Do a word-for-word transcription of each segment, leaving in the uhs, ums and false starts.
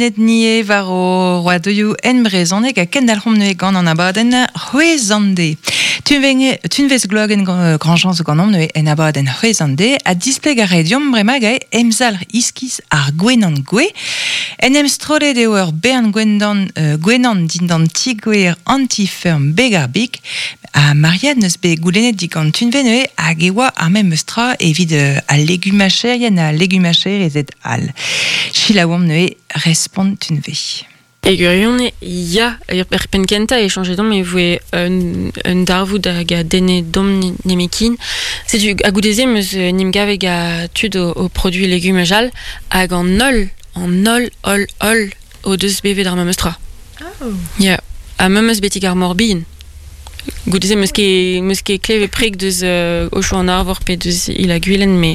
Net nie war o roadoioù en brezhoneg ha kendalc'homp neuze gant an abadenn c'hwezhande. Tunvezh Gloagen Grandjean zo ganeomp neuze en abadenn c'hwezhande ha displeg ar rediom bremañ gae emzalc'h iskis ar gwenan gwe. En em strollet eo ur bern gwendan, euh, gwenan dindan ti-gwer anti-ferm beg ar big ha Marianne neus bet goulennet digant Tunvezh neuze hag e oa ar memes tra evit euh, al legumacherien ha legumacherezed all. Chilaouomp neuze respont Tunvezh. E gwirion, ya, er penn kentañ e chañjet omp e voe un, un darvoud hag a denne domp nemekin. Setu a goude-se meus nim gaveg a tud o, o produit legumaj all hag an holl, an holl, holl, holl o deus bevet ar memes tra. Oh. Ya, ha memes betik ar morbin. Goude-se meus ket, meus ket klevet preg deus euh, Ocho an Arvor pe deus il a gwilen, me,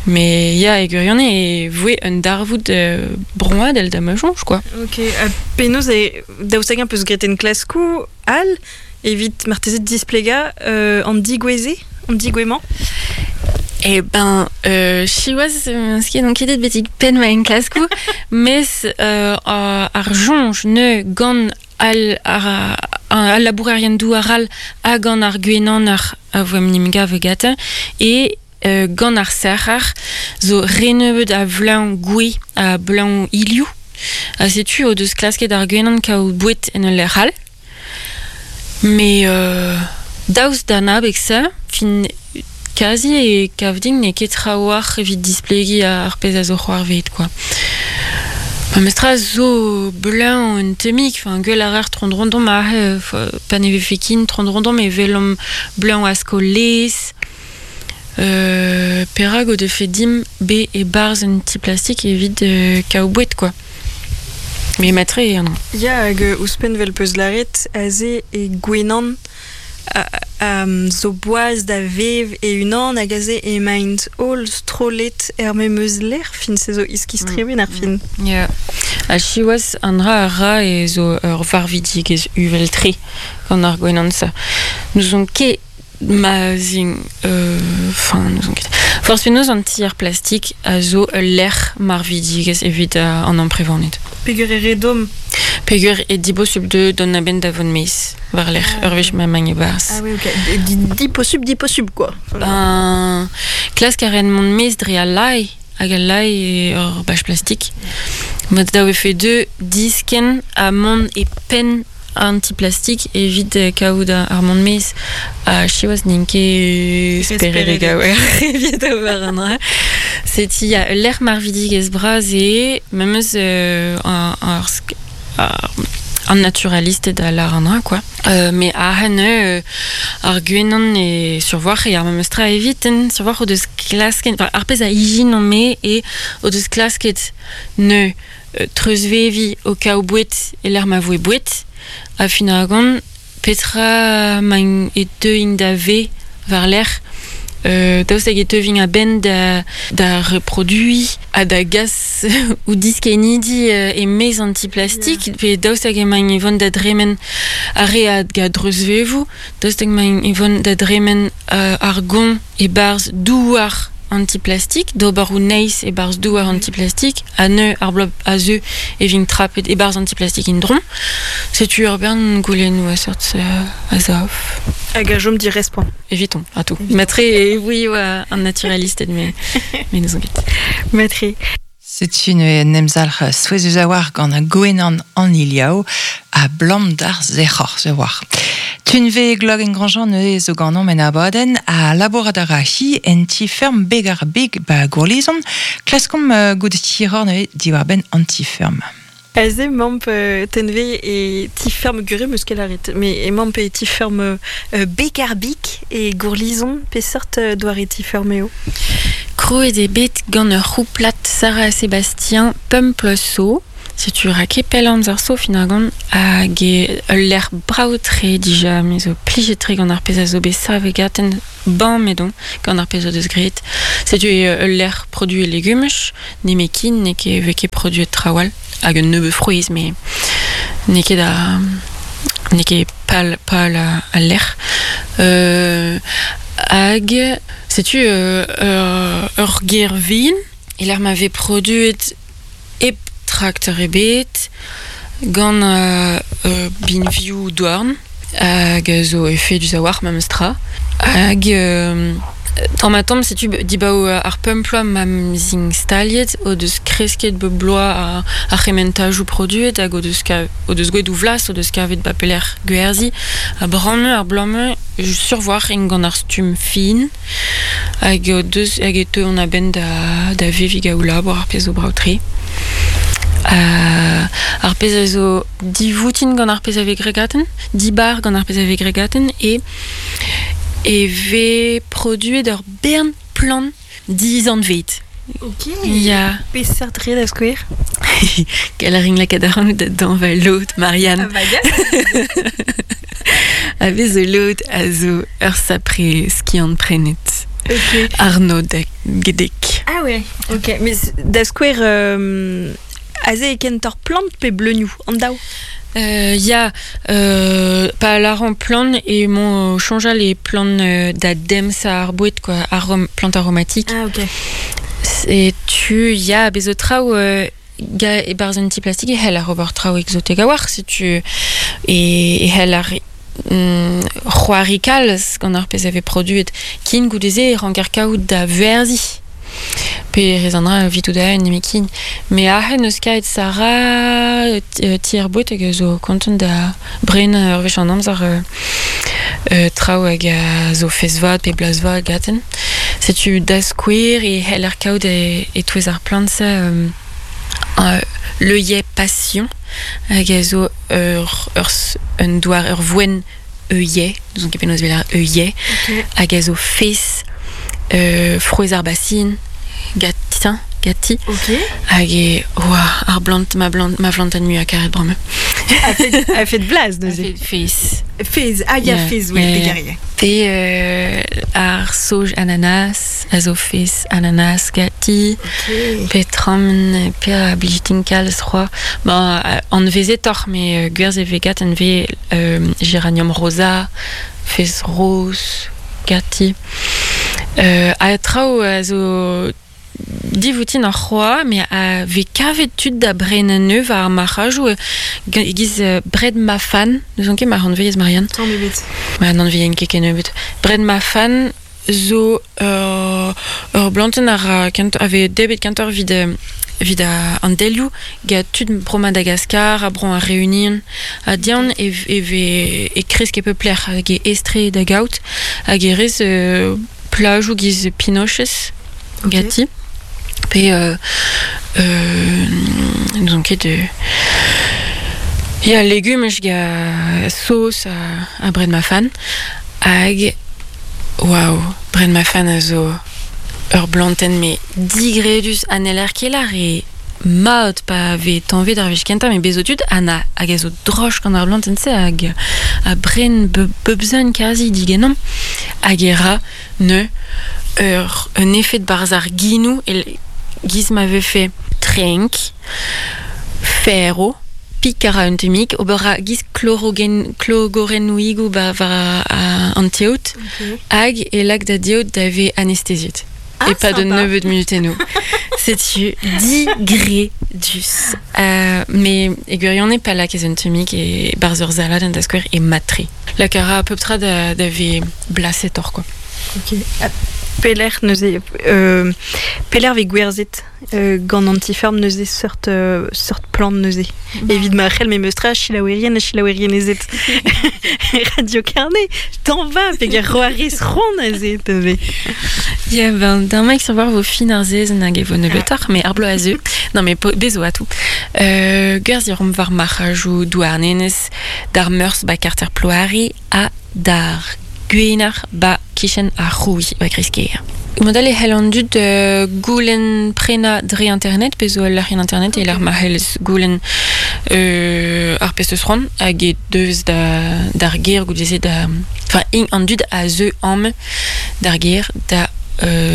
me ya e gwirion e voe un darvoud euh, broadel da ma soñj, quoi. Ok, ha penaos e daoust hag-eñ peus graet en klaskoù all evit marteze displegañ euh, an digoueze, an digouemañ? Eh ben, euh, siwazh, meus ket anketet betek penn ma enklaskoù, mes euh, ar soñj ne gant al, ar, al labourerien douar all hag an ar gwenan ar a voem nim gav gata e euh, gant ar serc'har zo renebeut a vleun gwe a bleun ilioù ha setu o deus klasket ar gwenan kaout boued en ul lec'h all mais euh, daoust d'an abeg se fin kazi e kav din n'eo ket trawalc'h evit displegiñ ar pezh a zo c'hoarvezet quoi. Memestra zo bleun un temik, enfin gwell ar ar tron-rondon ma pa ne vefe kin tron-rondon me velomp bleun a sko lez. Euh, perag o defe dim be e barz un ti plastik evit euh, kaout boued quoi. Mais matre an. Ya hag ouzhpenn vel peus laret aze e gwenan a, a, zo boaz da vev e unan hag aze emaint holl strollet er memes lec'h fin se zo iskis tremen ar fin. Ya. Ha siwazh an dra a ra e zo ur varvidigezh uvel tre gant ar gwenan sa. Nous on ket ma zin enfin euh, nous on ket. Forzh penaos an ti ar plastik a zo ul lec'h marvidigezh evit uh, an amprevaned. Peger e redom. Peger e dibosubl de don a-benn da vont maez war lec'h ah, ur wech ma mañ e barz. Ah oui, ok. Di, diposubl, diposubl, quoi. Ben, klask a ren mont maez dre al lae, hag al lae e ur bach plastik. Mat da vefe deux disken a mont e penn anti-plastik evit kaout ar mont maez a siwazh n'int ket speredek a evit ober an dra. Seti a lec'h marvidigezh bras e memes euh, ar, ar, ar, an naturaliste da lar an dra, quoi. Euh, mais a hen euh, ar gwenan e survoar e ar memes tra evit en survoar o deus klasket, enfin, ar pezh a ijin an me e o deus klasket ne euh, treuzvevi o kaout boued e l'er ma voe boued a fin ar gant petra mañ e teuint da ve war lec'h euh, daoust hag e teuvint a-benn da, da reproduiñ ha da gas ou diskenidi euh, e maez an ti-plastik yeah. Pe daoust hag emaint e vont da dremen ar re a ga dreuzvevoù daoust hag emaint e vont da dremen euh, ar gont e barz douar antiplastik, d'ober ou neiz e barz douar antiplastik, ha neu ar blob a zeu e vin trapet e barz antiplastik indron. Setu ur bern goulennoù a seurt euh, a zav. Hag a jom di respont. Eviton, a tout. Matre e oui oa un naturaliste mais mais nous ket. Matre. Setu neuze en emzalc'h souezhus a-walc'h gant ar gwenan an iliao a blam d'ar zec'hor se war. Tunvezh Gloagen Grandjean neuze zo ganeomp en abadenn a labourat a ra hi en ti-ferm beg ar beg ba Gourlizon. Klaskomp uh, gout tiror neuze diwar-benn an ti-ferm. Aze mamp euh, tenve e ti-ferm gure meus ket laret, mais e mamp e ti-ferm euh, beg ar big e Gourlizon peseurt euh, doare ti-ferm eo. Krouet eo bet gant ur c'houplat Sarah Sébastien Pemploso. Setu ra ket pell amzer zo fin ar gant hag e ul lec'h brav-tre dija, me zo plijet-tre gant ar pezh a zo bet savet gaten ban medon gant ar pezh o deus graet. Setu e ul lec'h produit legumaj, nemekin, n'eo ket vez ket produet trawal, hag un nebeud frouezh, mais n'eo ket da n'eo ket pal, pal al lec'h. Euh, hag setu euh, ur, ur ger vin, e lec'h ma vez produet hep traktor ebet, gant uh, uh, binvioù douarn, hag zo efedus a-walc'h memes tra. Hag euh, tamm ha tamm setu dibaoe ar pemp ploaz ma 'z int staliet o deus kresket bep bloaz ar, ar c'hementajoù produet hag o deus, ka, o deus gwelet o vlas, o deus kavet ba pelec'h gwerzhiñ. Ha bremañ ar bloaz-mañ sur-walc'h int gant ar stumm fin hag o deus hag e teuont a-benn da, da veviñ gant o labour ar pezh zo brav-tre. Uh, ar pezh a zo divoutin gant ar pezh a vez graet ganten, dibar gant ar pezh a vez graet ganten e e vez produet ur bern plant dizanvet. Ok. Ya. Peseurt re da skouer? Gall a rin lakaat ac'hanout da dañva lod, Marianne. Ah bah ya. A vez zo lod a zo ur sapre skiant prenet. Ok. Arnaud da gedek. Ah ouais, ok. Mais da skouer, euh, aze e kentoc'h plant pe bleunioù, an daou? Euh, ya, euh, pa lâran plant e mon soñjal e plant euh, da demzañ ar boued quoi, arom, plant aromatique. Ah ok. E tu ya bez zo traoù euh, ga e-barzh un ti plastik e c'heller ober traoù exotek a-walc'h setu e, e c'heller mm, c'hoari kalz gant ar pezh a vez produet kin goude-se e ranker kaout da werzhiñ. Pe rez an dra evit da un nemetken. Me aze neus kaet Sara euh, ti ar boued hag a zo kontant da brenañ ur wech an amzer euh, euh, traoù hag a zo fez vat pe blaz vat gaten. Setu da skouer e c'heller kaout e, e-touez ar plant-se euh, euh, l'œillet passion hag a zo ur, ur, un doar ur voen œillet, n'ouzon ket penaos e vez lâret œillet, Ok. hag a zo fez euh, frouezh ar basin, gatin, gati, Ok. hag e, oa, ar blant, ma blant, ma vlantenn muiañ karet bremañ. A fet, a fet blaz neuze. Fez. Fez, ah ya Yeah. fez, ouais, Yeah, yeah. yeah. garier. Pe euh, ar soj ananas, a zo fez ananas gati, Ok. pe tram, pe a blijitin kalz c'hoa. Bon, euh, anvezetoc'h, me euh, gwerzh e vez gat anvez euh, géranium rosa, fez roz, gati. Euh, a traoù a zo divoutin ar c'hoa, me a vez kavet tud da brenañ neuv ar marc'hajoù euh, giz euh, bred ma fan, n'ouzon ket mar anvez Marianne. Tamm ebet. Ma n'anvezen ket kennebeut. Bred ma fan zo ur, ur blantenn ar a kent, a vez debet kentoc'h evit, euh, evit a, an delioù gant tud bro Madagascar, a bro ar Reunion, ha dian e, e vez e kresk e pep lec'h hag e aes-tre da gaout hag e rez euh, plajoù giz pinochez Ok. gati. Pe euh, euh, n'ouzon ket euh, Ya legumaj ga sauce a, a bred ma fan hag waouh, bred ma fan a zo ur blantenn me digredus an eler ket lar e mat pa vez tañvet ar wech kentañ me bezo tud ha na hag a zo droch gant ar blantenn se hag a bren be, bebzan kazi digenomp hag e ra ne ur un efed barzh ar ginou el giz ma vefe trenk ferro pik a ra un tammig ober a giz klorogen, klogorennoùigoù ba war a, an teod Ok. hag e lak da diod da vez anesteziet. Ah, e pas de sympa. nebeud munutennoù. Setu digredus. Euh, mais e gwirionez pa lakez un tammig e barzh ur salad an da skouer e matre. Lak a ra a peu tra da, da vez blasetoc'h quoi. Ok. Ha pelec'h neuze euh, pelec'h vez gwerzhet euh, gant an ti-ferm neuze seurt euh, seurt plant neuze. Evit ma c'hell memes tra selaouerien ha selaouerienezed. Radio Carnet, t'en va, peger roarez c'hoant aze, te Ya, ben, d'un mec sur voir vo fin ar zezenn hag e vo nebeutoc'h, mais ar bloaz a zeu. Non, mais po, bezo a tout. Euh, gwerzh rom war marc'hajoù Douarnenez, d'ar meurzh ba karter Ploare ha d'ar gwener ba kichen ar Rouilh ba Kreizkêr. Modal e c'hell an dud euh, goulenn prenañ dre internet, pe zo ul lec'hienn internet e lec'h ma c'hellez goulenn euh, ar pezh eus c'hoant hag e deus da, d'ar gêr goude-se da... Enfin, int an dud a zeu amañ d'ar gêr da euh,